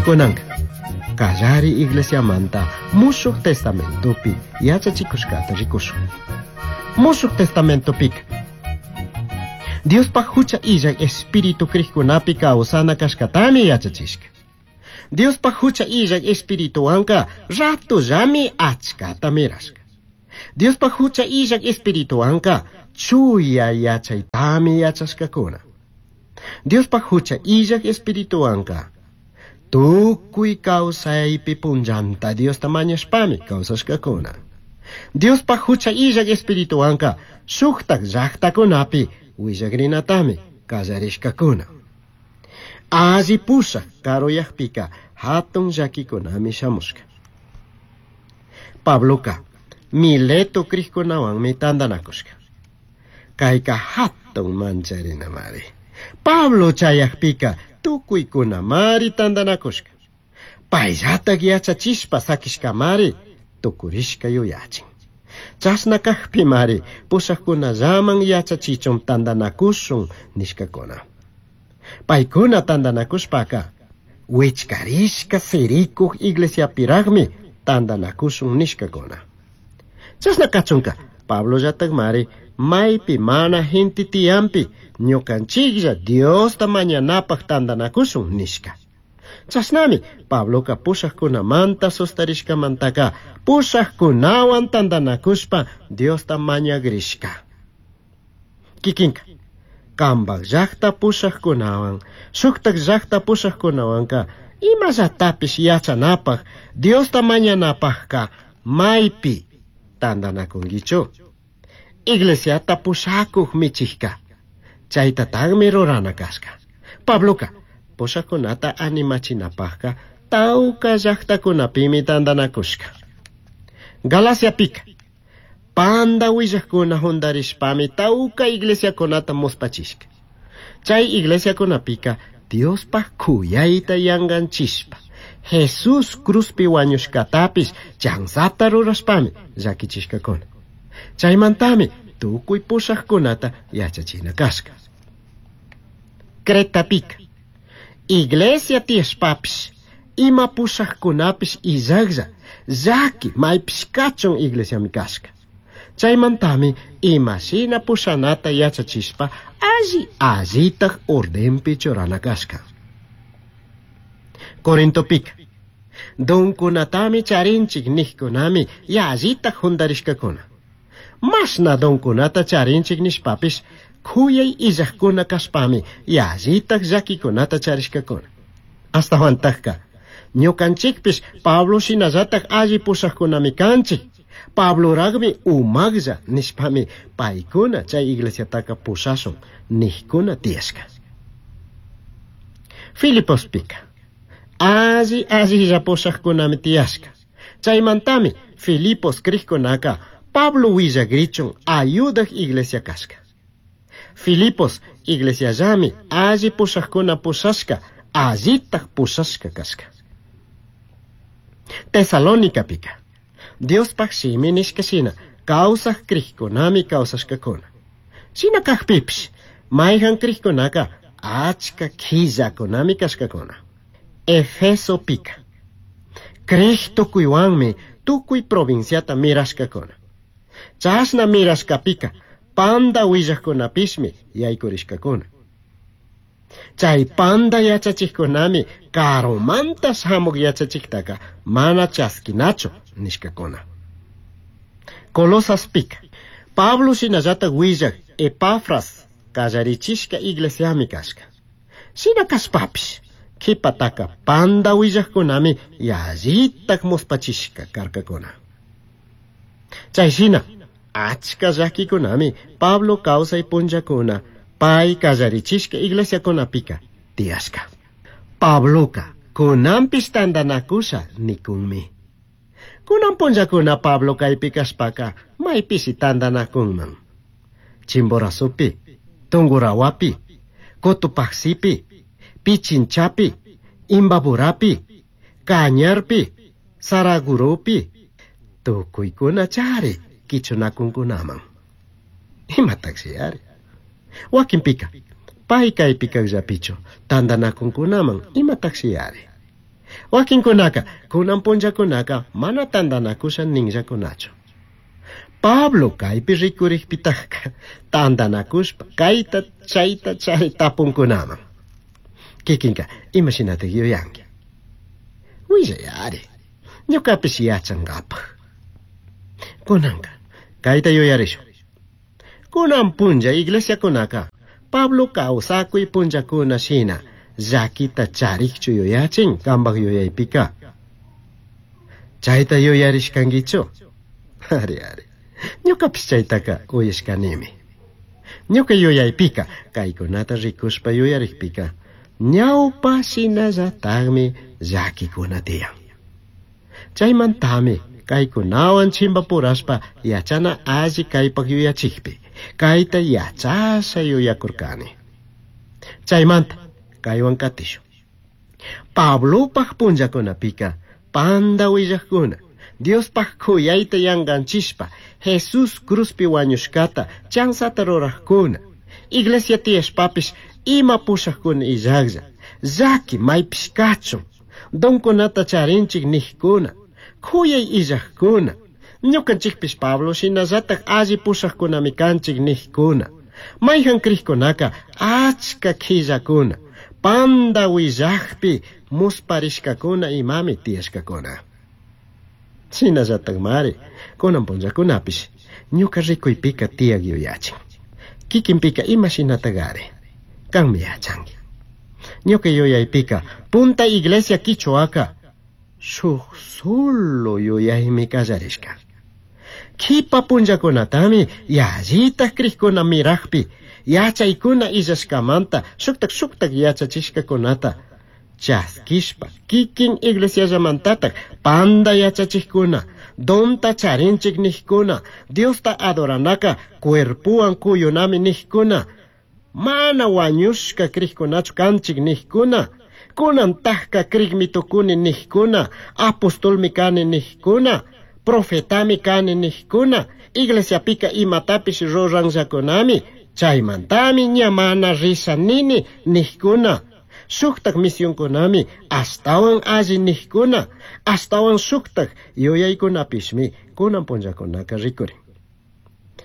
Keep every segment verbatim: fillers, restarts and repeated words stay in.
Kunanka kallari iglesiamanta Mushuq Testamentopi yachachikushkata rikushun. Mushuq Testamentopika Diospaj hucha illak espíritu krikkunapi kawsana kashkatami yachachishka. Diospaj hucha illak espirituwanka ratullami achkata mirashka. Diospaj hucha illak espirituwanka chuya yachaytami yachashkakuna. Diospaj hucha illak espirituwanka tukuy kawsaypi punllanta Diosta mañashpami kawsashkakuna. Diospaj hucha illak espirituwanka shuktak llaqtakunapi willakrinatami kallarishkakuna. Alli pushak karuyakpika hatun llakikunami shamushka. Pabloka Mileto krikkunawanmi tantanakushka. Kayka hatun mancharinamari. Pablo chayakpika tukuykunamari tantanakushka. Payllatak yachachishpa sakishkamari tukurishka yuyachin. Chashna kajpimari pushakkunallaman yachachichun tantanakushun nishkakuna. Paykuna tantanakushpaka wichkarishka sirikuj iglesiapiraqmi tantanakushun nishkakuna. Chashna kachunka Pablollatakmari maypi mana gente tiyanpi ñukanchiklla Diosta mañanapaj tantanakushun nishka. Chashnami Pabloka pushakkunamanta sustarishkamantaka pushakkunawan tantanakushpa Diosta mañagrishka. Kikinka kambak llaqta pushakkunawan shuktak llaqta pushakkunawanka imallatapis yachanapaj Diosta mañanapajka maypi tantanakunkichu. Iglesiata pushakuj michijka chaytataqmi rurana kashka. Pabloka pushakkunata animachinapajka tawka llaqtakunapimi tantanakushka. Galaciapika panda willakuna juntarishpami tawka iglesiakunata muspachishka. Chay iglesiakunapika Diospaj kuyayta yanganchishpa Jesús cruzpi wañushkatapis chanzata rurashpami llakichishkakuna. Chaymantami tukuy pushakkunata yachachina kashka. Cretapika iglesia tiyashpapish ima pushakkunapish illaklla llaki maypish kachun iglesiami kashka. Chaymantami imashina pushanata yachachishpa alli allitaj ordenpi churana kashka. Corintopika donkunatami charinchik nijkunami yallitaj juntarishkakuna. Mashna donkunata charinchik nishpapish kuyay illakuna kashpami yallitaj llakikunata charishkakuna. Ashtawantajka ñukanchikpish Pablo shinallataj alli pushakkunami kanchik. Pabloraqmi umaqlla nishpami paykuna chay iglesiataka pushashun nijkuna tiyashka. Filipospika alli allilla pushakkunami tiyashka. Chaymantami Filipos krikkunaka Pablo willakrichun ayudak iglesia kashka. Filipos iglesiallami alli pushakuna pushashka allitaj pushashka kashka. Tesalonicapika Diospaj shimi nishka shina kawsaj krikkunami kawsashkakuna. Shina kajpipish mayjan krikkunaka achka killakunami kashkakuna. Efesopika krij tukuywanmi tukuy provinciata mirashkakuna. Chashna mirashkapika panda willakkunapishmi yaykurishkakuna. Chay panda yachachikkunami karumanta shamuq yachachiktaka mana chaskinachu nishkakuna. Colosaspika Pablo shinallatak willak Epafras kallarichishka iglesiami kashka. Shina kashpapish kipataka panda willakkunami yallitak muspachishka karkakuna. Chay shina achka llakikunami Pablo kawsay punllakuna pay kallarichishka iglesiakunapika tiyashka. Pabloka kunanpish tantanakusha nikunmi. Kunan punllakuna Pablo kaypi kashpaka maypishi tantanakunman. Chimborazopi, Tungurahuapi, Cotopaxipi, Pichinchapi, Imbaburapi, Cañarpi, Saraguropi, tukuykuna chari kichunakunkunaman. Imataqshi ari. Wakinpika, pay kaypi kaqllapichu tantanakunkunaman imataqshi ari. Wakinkunaka kunan punllakunaka mana tantanakusha ninllakunachu. Pablo kaypi rikurikpitaka tantanakushpa kayta chayta chay tapunkunaman. Kikinka imashinatak yuyanki? Willayari, ñukapish yachankapaj. Kunanka kayta yuyarishun. Kunan punlla iglesiakunaka Pablo kawsakuy punllakuna shina llakita charikchu yuyachin kanpak yuyaypika. Chayta yuyarishkankichu? Ari ari, ñukapish chaytaka uyashkanimi. Ñuka yuyaypika kaykunata rikushpa yuyarikpika ñawpa shinallatakmi llakikuna tiyan. Chaymantami kaykunawan chimpapurashpa yachana alli kaypak yuyachikpi kayta yachasha yuyakurkani. Chaymanta kaywan katishun. Pablopaj punllakunapika panda willakuna Diospaj kuyayta yanganchishpa Jesús cruzpi wañushkata chansata rurajkuna iglesia tiyashpapish ima pushajkuna illaklla llaki maypish kachun donkunata charinchik nijkuna kuyay illajkuna ñukanchikpish Pablo shinallatak alli pushajkunami kanchik nijkuna mayjan krikkunaka achka qhillakuna panda willakpi musparishkakuna imami tiyashkakuna. Shinallatak mari kunan punllakunapish ñuka rikuypika tiyak yuyachin. Kikinpika ima shinatakari kanmi yachanki. Ñuka yuyaypika punta iglesia quichuaka shuk solo yuyaymi kallarishka. Kipa punllakunatami yallitak krikuna mirakpi yachaykuna illashkamanta shuktak shuktak yachachishkakunata chaskishpa kikin iglesiallamantatak panda yachachikkuna donta charinchik nijkuna Diosta adoranaka cuerpuwan kuyunami nijkuna mana wañushka krikkunachu kanchik nijkuna kunantakka krikmi tukuni nijkuna apostolmi kani nijkuna profetami kani nijkuna iglesiapika imatapish ruranllakunami chaymantami ña mana risha nini nijkuna shuktak misionkunami ashtawan alli nijkuna ashtawan shuktak yuyaykunapishmi kunan punllakunaka rikurin.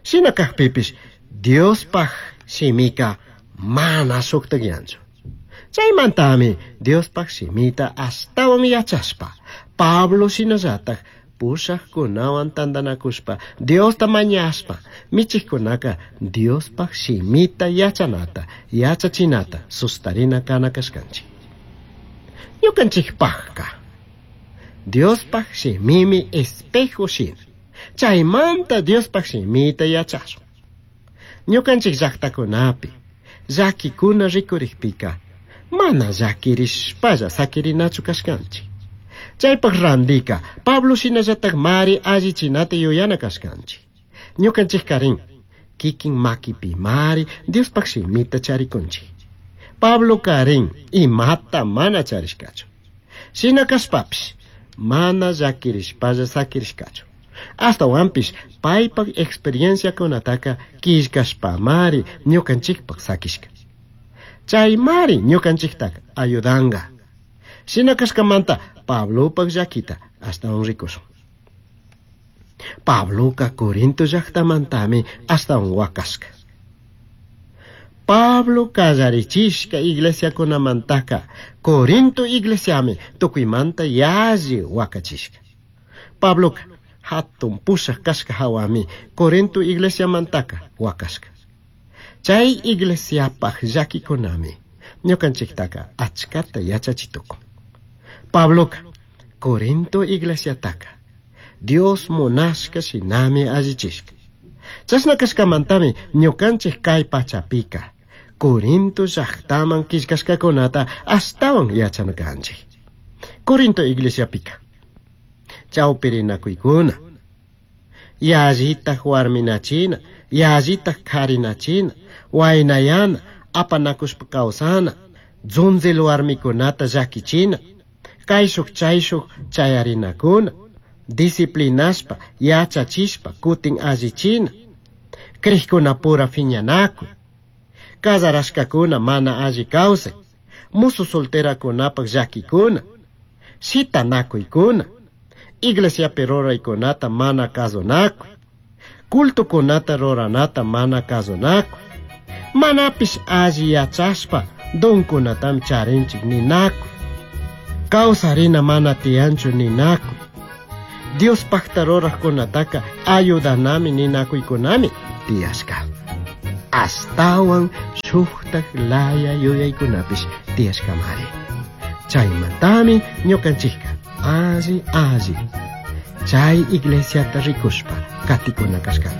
Shina kakpipish Diospaj shimika mana shuktakyanchu. Chaymantami Diospaj shimita ashtawan yachashpa Pablo shinallatak pushajkunawan tantanakushpa Diosta mañashpa michikkunaka Diospaj shimita yachanata yachachinata sustarina kana kashkanchik. Ñukanchikpajka Diospaj shimimi espejo shina. Chaymanta Diospaj shimita yachashun. Ñukanchik llaqtakunapi llakikuna rikurikpika mana llakirishpalla sakirinachu kashkanchik. Chaypaj randika Pablo shinallatak mari allichinata yuyana kashkanchik. Ñukanchik karin kikin makipi mari Diospaj shimita charikunchik. Pablo karin imata mana charishkachu. Shina kashpapish mana llakirishpalla sakirishkachu. Ashtawanpish paypak experienciakunataka killkashpamari ñukanchikpak sakishka. Chaymari ñukanchiktaka ayudanga. Shina kashkamanta Pablopak llakita ashtawan rikushun. Pabloka Corinto llaktamantami ashtawan wakashka. Pablo kallarichishka iglesiakunamantaka Corinto iglesiami tukuymanta yalli wakachishka. Pabloka hatun pushak kashka hawami Corinto iglesiamantaka wakashka. Chay iglesiapaj llakikunami ñukanchiktaka achkata yachachitukun. Pabloka Corinto iglesiataka Dios munashka shinami allichishka. Chashna kashkamantami ñukanchik kay pachapika Corinto llaqtaman killkashkakunata ashtawan yachana kanchik. Corinto iglesiapika chawpirinakuykuna yallitak warminachina yallitak karinachina waynayana apanakushpa kawsana dzunzil warmikunata llakichina kayshuk chayshuk chayarinakuna disciplinashpa yachachishpa kutin allichina krikkunapura phiñanakuy casarashkakuna mana alli kawsay musu solterakunapak llakikuna Shitanakuykuna, iglesiapi ruraykunata mana kasunakuy, cultokunata ruranata mana kasunakuy, manapish alli yachashpa donkunatami charinchik ninakuy, kawsarina mana tiyanchu ninakuy, Diospakta rurajkunataka ayudanami ninakuykunami tiyashka. Ashtawan shuktak laya yuyaykunapish tiyashkamari. Chaymantami ñukanchikka alli alli chay iglesiata rikushpa katikuna kashkanchik.